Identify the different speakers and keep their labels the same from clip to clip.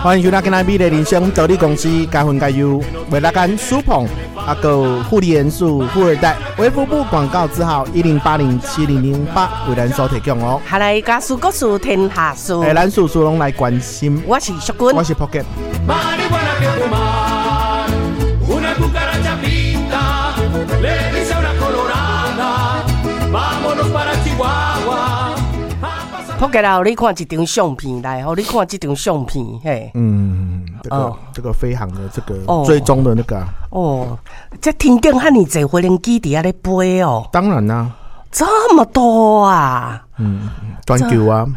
Speaker 1: 歡迎收聽今仔美麗人生道理公司加分加油，為大家蘇鵬啊個護理元素富二代衛福部廣告字號10807008為咱所提供哦。
Speaker 2: 下來家事國事天下事，
Speaker 1: 欸，咱事事攏來關心。
Speaker 2: 我是淑君，
Speaker 1: 我是 Pocket。
Speaker 3: Marihuana que fumar, una cucaracha pinta, le dice a una colorada, vámonos para Chihuahua.
Speaker 2: Pocket 啊，你看這張相片來，予你看這張相片，嘿。
Speaker 1: 嗯，這個這個飛航的這個追蹤的那個啊。
Speaker 2: 哦，這天頂遐爾濟飛行機佇遐咧飛哦。
Speaker 1: 當然啦。
Speaker 2: 這麼多啊！
Speaker 1: 嗯，全球啊。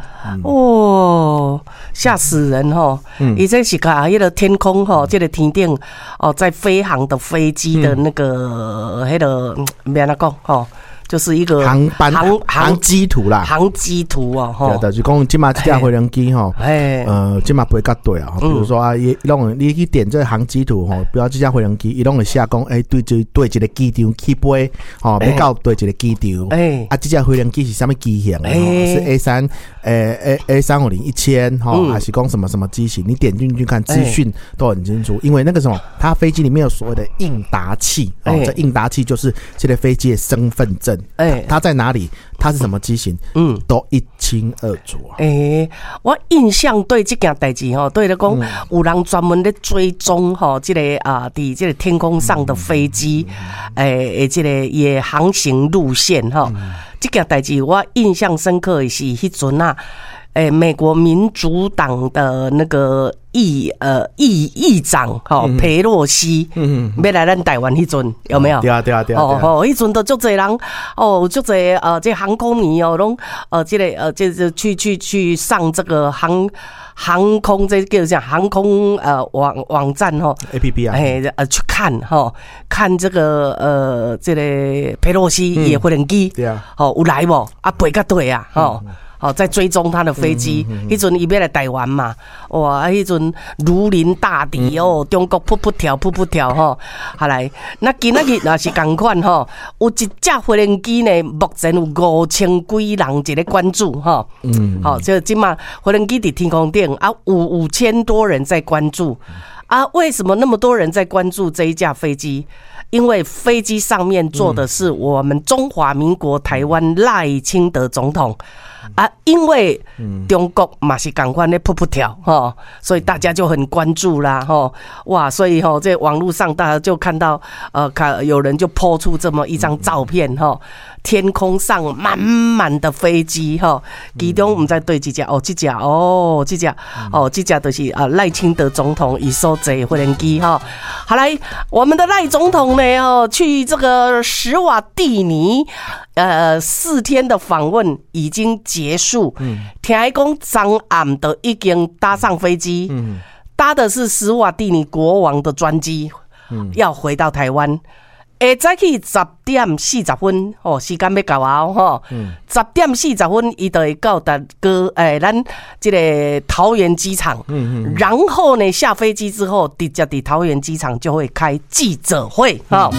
Speaker 2: 哦，嚇死人吼！伊這是共彼个天空吼，這个天頂哦，在飛航的飛機的那個彼个，欲按怎講吼？就是一個
Speaker 1: 航班航機圖啦，
Speaker 2: 航機圖哦，
Speaker 1: 對，就是講這馬這架飛行機吼，這馬飛較對啊。比如說啊，伊攏你去點這個航機圖吼，比如這架飛行機，伊攏會寫講，欸，對這對一個機場起飛，吼，欲到佗一個機場，啊，這架飛行機是啥物機型？是 A3，A350-1000，吼，還是講什麼什麼機型？你點進去看資訊都很清楚，因為那個什麼，它飛機裡面有所謂的應答器，哦，這應答器就是這個飛機的身份證。欸，它在哪裡？它是什麼機型？都一清二楚啊。
Speaker 2: 欸，我印象對這件代誌吼，對咧講有人專門咧追蹤吼，這個啊，佇這個天空上的飛機，欸，這個伊的航行路線吼，這件代誌我印象深刻的是彼陣啊，欸，美國民主黨的那個議長吼，裴洛西，欲來咱台灣彼陣有沒有？
Speaker 1: 對啊對啊對啊！
Speaker 2: 哦吼，彼陣都足濟人哦，足濟這航空迷哦，攏這個這去上這個航空這叫啥？航空網站吼
Speaker 1: ，APP 啊，
Speaker 2: 欸去看吼，看這個這个裴洛西伊的飛行機，吼有來無？啊飛到佗啊，吼。哦，在追蹤他的飛機，彼陣伊欲來台灣嘛，哇！彼陣如臨大敵哦，中國噗噗跳，噗噗跳吼。後來，那今仔日也是仝款吼，有一架飛行機呢，目前有5000幾人佇咧關注吼。好，這這馬飛行機佇天空頂啊，有5000多人在關注啊。為什麼那麼多人在關注這一架飛機？因為飛機上面坐的是我們中華民國台灣賴清德總統。啊，因為中國嘛是仝款咧噗噗跳吼，所以大家就很關注啦吼，哇，所以吼在網路上大家就看到，看有人就 po 出這麼一張照片吼，天空上滿滿的飛機吼，其中毋知佗一隻哦，這隻哦，這隻哦，這隻就是啊賴清德總統伊所坐的飛行機吼。好來，我們的賴總統呢哦，去這個史瓦蒂尼，4天的訪問已經結束。聽講昨暗都已經搭上飛機，搭的是史瓦蒂尼國王的專機，要回到台灣。下早起10點40分，哦，時間欲到啊，吼，10點40分，伊就會到達個咱這個桃園機場，然後呢，下飛機之後，直接佇桃園機場就會開記者會，吼。